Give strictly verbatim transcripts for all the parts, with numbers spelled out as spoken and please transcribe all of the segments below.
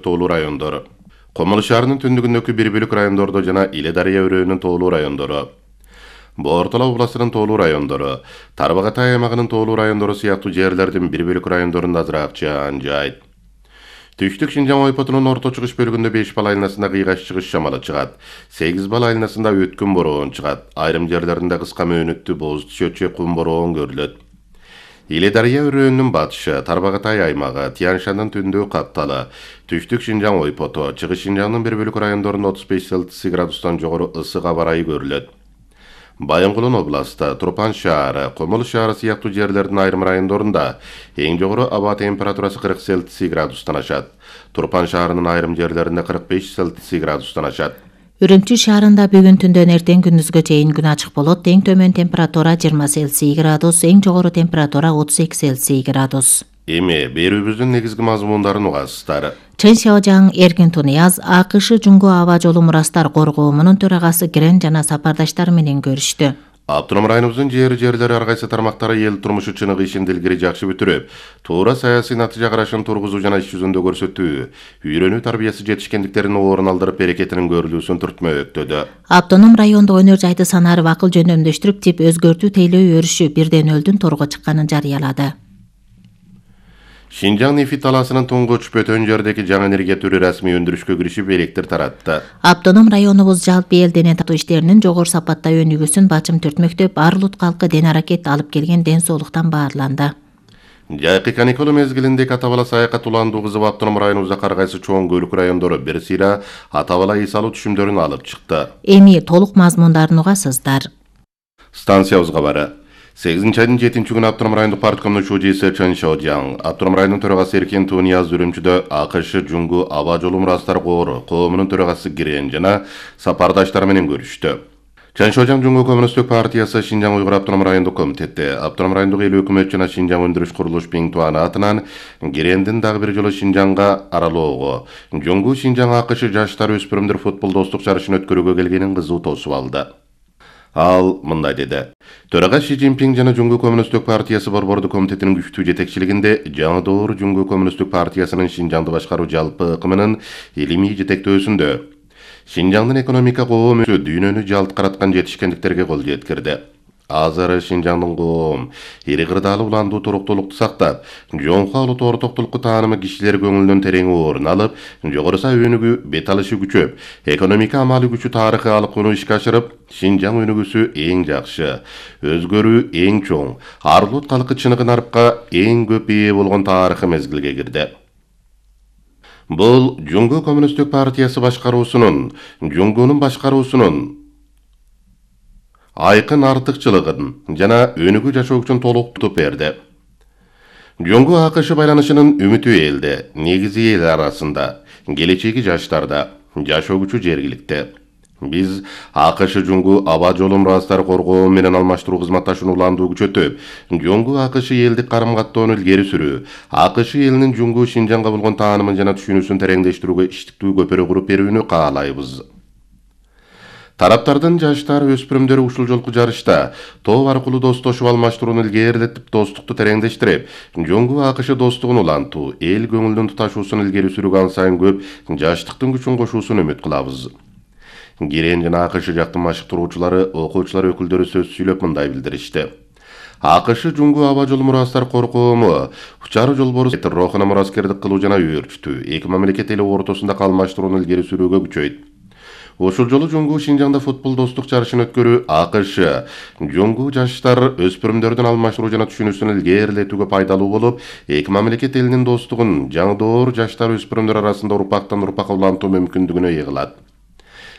тоолуу райондору. Комол шаарынын түндүгүндөгү бир бөлүк райондордо жана Иле Дарыя өрөөнүн тоолуу райондору, Бортала областынын тоолуу райондору, Тарбагатай аймагынын тоолуу райондору сыяктуу жерлердин бир бөлүк райондорунда азыраак жаан жаайт. Түштүк Шинжаң ойпотунун орто чыгыш бөлүгүндө беш бал айланасында кыйгаш чыгыш шамалы чыгат. сегиз бал айланасында өткүн бороон чыгат. Айрым жерлеринде кыска мөөнөттүү боз түшөтчү кум бороон көрүлөт. Иле Дарыя өрөөнүнүн батышы, Тарбагатай аймагы, Тянь-Шандын түндүгү капталы, Түштүк Шинжаң ойпоту, Чыгыш Шинжаңдын бир бөлүк райондорунда отуз беш Цельсий градустан жогору ысык аба ырайы көрүлөт. Байынгулун областы, Турпан шаары, Комол шаары сыяктуу жерлердин айрым райондорунда эң жогору аба температурасы кырк Цельсий градустан ашат. Турпан шаарынын айрым жерлеринде кырк беш Цельсий градустан ашат. Үрүмчү шаарында бүгүн түндөн эртең күндүзгө чейин күн ачык болот. Эң төмөн температура жыйырма Цельсий градус, эң жогору температура отуз эки Цельсий градус. Эми берүүбүздүн негизги мазмундарын угасыздар. Чен Шаожаң Эркин Тунияз АКШ Жуңгу аба жолу мурастар коргоомунун төрагасы Грен жана сапардаштары менен көрүштү. Автоном районубуздун жери жерлери ар кайсы тармактары эл турмушу чыныгы ишин илгери жакшы бүтүрүп, туура саясий натыйжа карашын тургузуу жана иш жүзүндө көрсөтүү, үйрөнүү тарбиясы жетишкендиктерин орун алдырып берекетинин көрүлүүсүн түртмөктөдө. Автоном райондо өнөр жайды санаарып акыл жөндөмдөштүрүп, тип өзгөртүү тейлөө өрүшү бирден өлдүн торго чыкканын жарыялады. Шинжаң нефит талаасынын туңгуч Бөтөн жердеги жаңы энергия түрү расмий өндүрүшкө киришип электр таратты. Автоном районубуз жалпы эл дене тартуу иштеринин жогору сапатта өнүгүүсүн бачым түртмөктөп, ар улут калкы ден аракет алып келген ден соолуктан баарланды. Жайкы каникул мезгилинде ата бала саякат уландуу кызып Автоном районубузда ар кайсы чоң көлүк райондору бир сыйра ата бала эс алуу түшүмдөрүн алып чыкты. Эми толук мазмундарын угасыздар. Станциябызга бары. сегизинчи айдын жетинчи күнү Автоном райондук парткомдун шужиси Чен Шаожаң, Автоном районунун төрагасы Эркин Тунияз Үрүмчүдө АКШ Жуңгу аба жолу мурастар коомунун төрагасы Грен жана сапардаштары менен көрүштү. Чен Шаожаң Жуңгу Коммунисттик партиясы Шинжаң Уйгур Автоном райондук комитети, Автоном райондук эл өкмөт жана Шинжаң өндүрүш курулуш Биңтуаны атынан Грендин дагы бир жолу Шинжаңга аралоого, Жуңгу Шинжаң АКШ жаштар өспүрүмдөр футбол достук жарышын өткөрүүгө келгенин кызуу тосуп алды. Ал мындай деди. Төрага Ши Цзиньпин жана Жуңгу Коммунисттик партиясы борбордук комитетинин күчтүү жетекчилигинде жаңы доор Жуңгу Коммунисттик партиясынын Шинжаңды башкаруу жалпы ыкымынын илимий жетектөөсүндө Шинжаңдын экономика коому дүйнөнү жалт караткан жетишкендиктерге кол жеткирди. Азыр Шинжаңдын коом ири кырдаалы уландуу туруктуулукту сактап, жоңко улут ортоктулукку таанымы кишилер көңүлүнөн терең орун алып, жогорусу өнүгүү бет алышы күчөп, экономика амалы күчү тарыхы алыкууну ишке ашырып, Шинжаң өнүгүүсү эң жакшы, өзгөрүү эң чоң, ар улут калкы чыныгы нарыпка эң көп ээ болгон тарыхы мезгилге кирди. Бул Жуңгу Коммунисттик партиясы башкаруусунун, Жуңгунун башкаруусунун айкын артыкчылыгын жана өнүгүү жашоо үчүн толуктуп берди. Жуңгу АКШ байланышынын үмүтү элде, негизи эл арасында, келечеги жаштарда, жашоо күчү жергиликте. Биз АКШ Жуңгу аба жолу мурастар коргоо менен алмаштыруу кызматташууну уландуу күчөтүп, Жуңгу АКШ элдик карым-каттоону илгери сүрүү, АКШ элинин Жуңгу Шинжаңга болгон таанымын жана түшүнүүсүн тереңдештирүүгө иштиктүү көпүрө куруп берүүнү каалайбыз. Тараптардын жаштар өспүрүмдөрү ушул жолку жарышта топ аркылуу достошуп алмаштырууну илгерилетип, достукту тереңдештирип, Жуңгу АКШ достугун улантуу, эл көңүлдүн туташуусун илгери сүрүүгө ан сайын көп жаштыктын күчүн кошуусун үмүт кылабыз. Грен жана АКШ жактын машыктыруучулары, окуучулар өкүлдөрү сөз сүйлөп мындай билдиришти. АКШ Жуңгу аба жолу мурастар коркоому, учары жолбору рохуна мураскердик кылуу жана өөрчүтүү, эки мамлекет эли ортосунда калмаштырууну илгери сүрүүгө күчөйт. Ушул жолу Жуңгу Шинжаңда футбол достук жарышын өткөрүү АКШ Жуңгу жаштар өспүрүмдөрдүн алмаштыруу жана түшүнүүсүн илгерилетүүгө пайдалуу болуп, эки мамлекет элинин достугун жаңы доор жаштар өспүрүмдөр арасында урпактан урпакка улантуу мүмкүндүгүнө ээ кылат.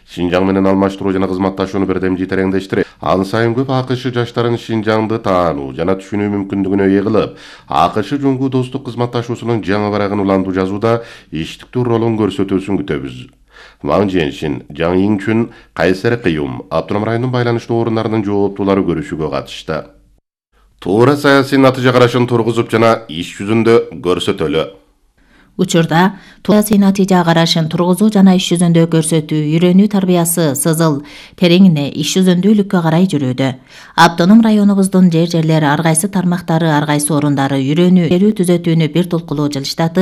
Шинжаң менен алмаштыруу жана кызматташууну бирдемжи тереңдештирип, ан сайын көп АКШ жаштарын Шинжаңды таануу жана түшүнүү мүмкүндүгүнө ээ кылып, АКШ Жуңгу достук кызматташуусунун жаңы барагын уландуу жазууда иштиктүү ролун көрсөтүүсүн күтөбүз. Ван Женшин, Жаң Иңчүн, Кайсер Кыюм, Автоном районунун байланыштуу орундарынын жооптуулары көрүшүүгө катышты. Туура саясий натыйжа карашын тургузуп жана иш жүзүндө көрсөтөлү. Учурда саясий натыйжа карашын тургузуу жана иш жүзүндө көрсөтүү, үйрөнүү тарбиясы сызыл тереңине иш жүзүндүүлүккө карай жүрүүдө. Автоном районубуздун жер жерлери ар кайсы тармактары, ар кайсы орундары үйрөнүү түзөтүүнү бир толкулуу жылыштатып